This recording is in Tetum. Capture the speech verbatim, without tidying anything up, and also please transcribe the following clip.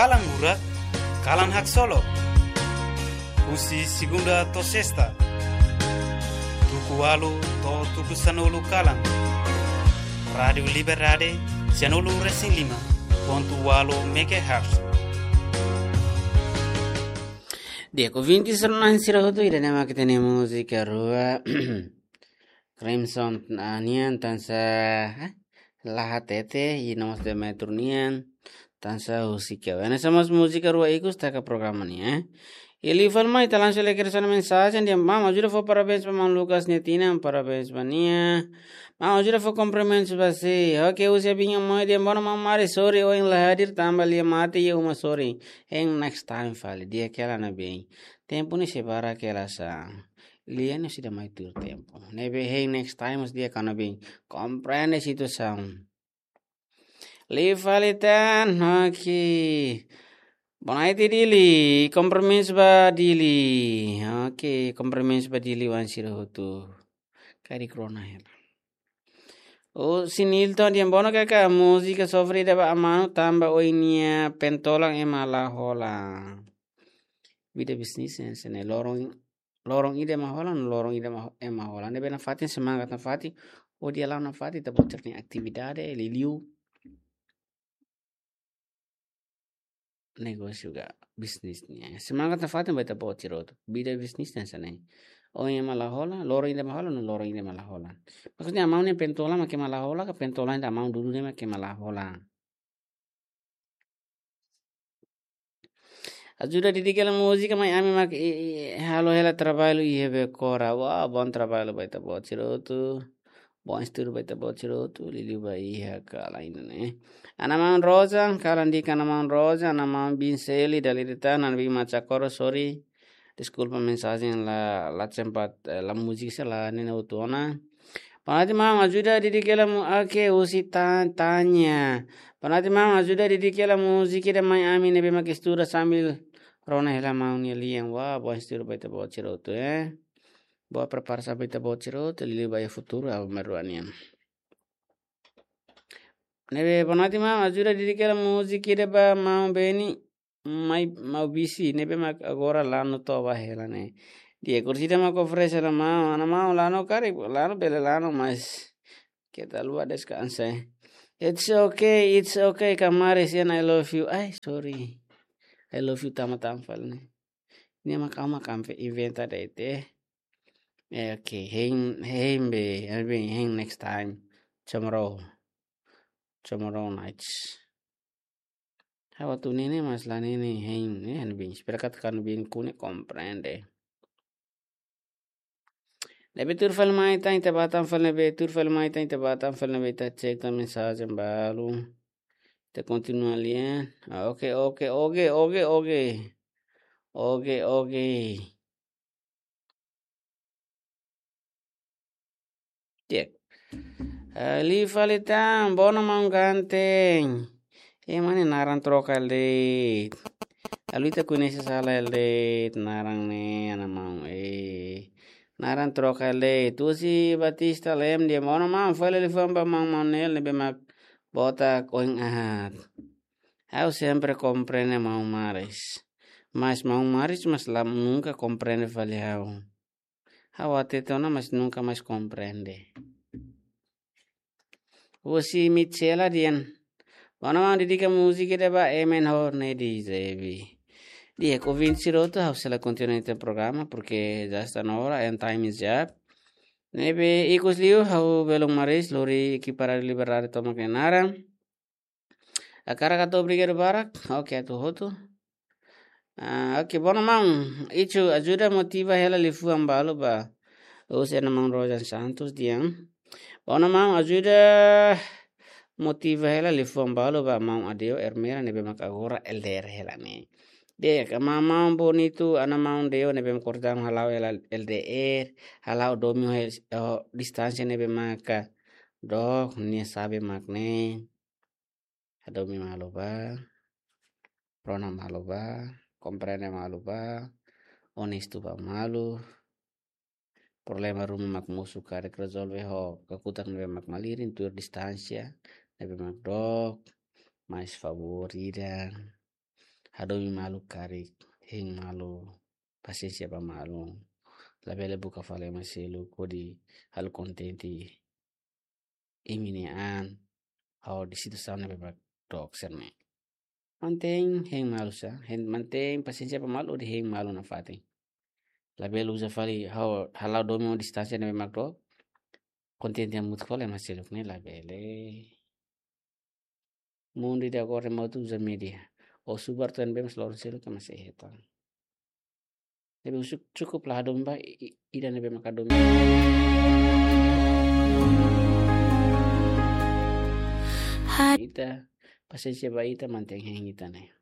Kalan Hurak, Kalan Haksolok. Husi segunda to'o sesta, tuku ualu to'o tuku sanulu kalan. Rádiu Liberdade, sianulu resin lima pontu ualu megahertz. Di'ak, ouvinte sira-na'in sira hotu, ida-ne'e mak ita-nia múzika rua Crimson, ah, nian, Tansa, eh, La Hatete, i no mós Demetrio nian, Tansa Husi Keu. Hanesan mós múzika rua ikus taka programa nian, eh. I liu fali mai ita langsung lee kedas ona mensajen, dehan: Maun, ajuda fó parabéns ba maun Lucas nia tinan, parabéns ba nia. Maun, ajuda fó kumprimentus ba sé. Oke, husi Abinho Moi, dehan: Bona maun Mari, sorry ohin la hadir tanba lia mate iha uma, sorry. Hein next time fali, di'ak hela ne'ebé. Tempu ne'e sei barak hela sá. Lia ne'e seidauk mai tuir tempu. Ne'ebé hein next time mós di'ak, ha'u hanoin komprende situasaun. Liu fali tan, oke. Boa noite, Dili. Komprimentus ba Dili. Oke, komprimentus ba Dili-oan sira hotu. Karik rona hela. Husi Nilton, dehan: Bona karik múzika sofre ida ba amanu tanba oin nia pentolan ema la hola. Vida bisnis hanesan ne'e, loron, loron ida ema hola, loron ida ema, ema hola. Ne'ebé nafatin, semangat nafatin, hodi hala'o nafatin, ita-boot sira-nia atividade, liuliu negósiu ka bisnis nian. Semangat nafatin ba ita-boot sira hotu. Vida bisnis hanesan ne'e. Oin ema la hola, loron ida ema hola, no loron ida ema la hola. Maksudnya, amanu nia pentolan mak ema la hola, ka pentolan ida amanu dudu ne'e mak ema la hola. Ajuda didik hela múzika, mai ami mak, i, i, halo hela traballu iha Becora. Wah, bom traballu ba ita-boot sira hotu. Bom estudu ba ita-boot sira hotu, liuliu ba iha kalan ida-ne'e. Ana maun Rosa, kalan di'ak ana maun Rosa, ana maun Bin Seli, dala ida tan, ana Bin Machakoro, sorry. Deskulpa, mensajen la, la sempat, eh, la múzika sira la nena hotu ona. Boa noite maun, ajuda didik hela mu-, oke, husi Ta-, Tanya. Boa noite maun, ajuda didik hela múzika ida mai ami ne'ebé mak estuda sambil rona hela maun nia lian. Wah, bom estudu ba ita-boot sira hotu, eh. Boa preparasaun ba ita-boot sira hotu, liuliu ba iha futuru, ha'u merua nian. Ne'ebé, boa noite maun, ajuda didik hela múzika ida ba maun Beni, mai, maun Bisi, ne'ebé mak agora lanu toba hela ne'e. Di'ak, kursida mak oferese ona maun, ana maun lanu karik, lanu bele lanu, mas keta haluha deskansa, eh. It's okay, it's okay, Kamaris, and I love you. Ai, sorry. I love you tama-tama fali ne'e. Ne'e mak ha'u mak inventa de'it, eh. Eh, oke, hein, hein be, hein be, hein next time. Tomorrow. Tomorrow night. Ha'u atu nene mas la nene hein, eh, hanoin. Espera katak hanoin kune komprende. Ne'ebé tuur fali mai tan, ita bá tan fali ne'ebé, tuur fali mai tan, ita bá tan fali ne'ebé, ita cek tan mensajen balu. Ita kontinua lia. Ah, oke, oke, oke, oke, oke. Oke, oke. Di'ak. Ah, liu fali tan, bona maun ganteng. Ema nia naran troka hela de'it. Halo ita koñese sala hela de'it, naran ne'e, ana maun, eh. Naran troka hela de'it. Husi Batista Lem, dehan: Bona maun, fó hela liafuan ba maun Manuel ne'ebé mak botak ohin aat. Ha'u sempre komprende maun Maris. Mas maun Maris mas la nunka komprende fali ha'u. Ha'u hatete ona mas nunka mais komprende. Husi Michela dehan: Bona maun, dedika múzika ida ba Emen ho Nedi Zebi. Di'ak, ouvinte sira hotu, ha'u sei la kontinua ita-nia programa, porque já está na hora, and time is up. Ne'ebé ikus liu, ha'u belun Maris, lori ekipa Rádiu Liberdade tomak nia naran. Hakarak hato'o obrigadu barak, oke, atu hotu. Ah, oke, bona maun, Ichu, ajuda motiva hela liafuan balu ba. Husi ana maun Rojan Santos dehan: Bona maun, ajuda motiva hela liafuan balu ba maun Adeo Ermera ne'ebé mak agora L D R hela ne'e. Di'ak, maun, maun Bonitu, ana maun Deo ne'ebé mak kortan hala'o hela L D R, hala'o domin ho, ho distánsia ne'ebé maka dook, nia sabe mak ne'e. Hadomi malu bá, rona malu bá, komprende malu bá, onestu bá malu. Problema ruma mak mosu karik rezolve ho kakutak ne'ebé mak malirin tuir distánsia, ne'ebé mak dook, mais favór ida. hadomi malu karik, hein malu, pasiénsia ba malu. Labele buka fali ema seluk hodi halo kontente imi-nia an, hodi situasaun ne'ebé mak dook sira-ne'e. Mantein hein malu sá, hein, mantein pasiénsia ba malu hodi hein malu nafatin. Labele uza fali ha'u hala'o domin ho distánsia ne'ebé mak dook, kontente hamutuk fali ema seluk ne'e, labele. Mundu ida agora ema hotu uza média. Ó subar tan be mas loron seluk ema sei hetan. Ne'ebé husu cukup la hadomi ba i-, i-, ida ne'ebé mak hadomi. Ita, pasiénsia ba ita, mantein hein ita-nia.